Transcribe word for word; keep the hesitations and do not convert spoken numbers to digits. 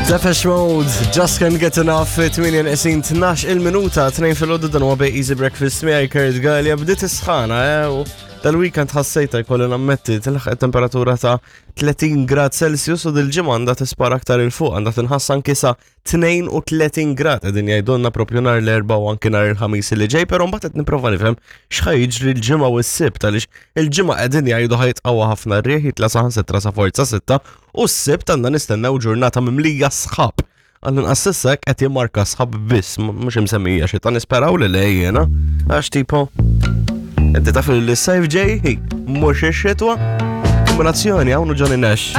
Depeche Mode, Just Can't Get Enough, tmienja neqsin tnax il-minuta, tnejn filgħodu, dan huwa Easy Breakfast miegħi Kurt Galea. Bdiet is-sħana, eh, u dal-weekend ħassejta, jkolli nammetti, tilħaq temperatura ta' tletin grad Celsius u dil-ġimgħa għandha tispara aktar 'il fuq, għandha tinħass anki sa tnejn u tletin grad, qegħdin jgħidulna propju nhar l-Erbgħa u anki nhar il-Ħamis li ġej, però mbagħad qed nipprova nifhem x'ħa jiġri l-Ġimgħa u s-Sibt, għaliex il-Ġimgħa qegħdin jgħidu ħa jitqawwa ħafna r-riħ, jitla' saħansitra sa forza sitta, u s-Sibt għandna nistennew ġurnata mimlija sħab. Għall-inqas s'issa qed jimmarka sħab biss, mhux imsemmija xita, nisperaw li le jiena, għax tipo inti taf li s-sajf ġej, mhux ix-xitwa. Kombinazzjoni hawn Johnny Nash.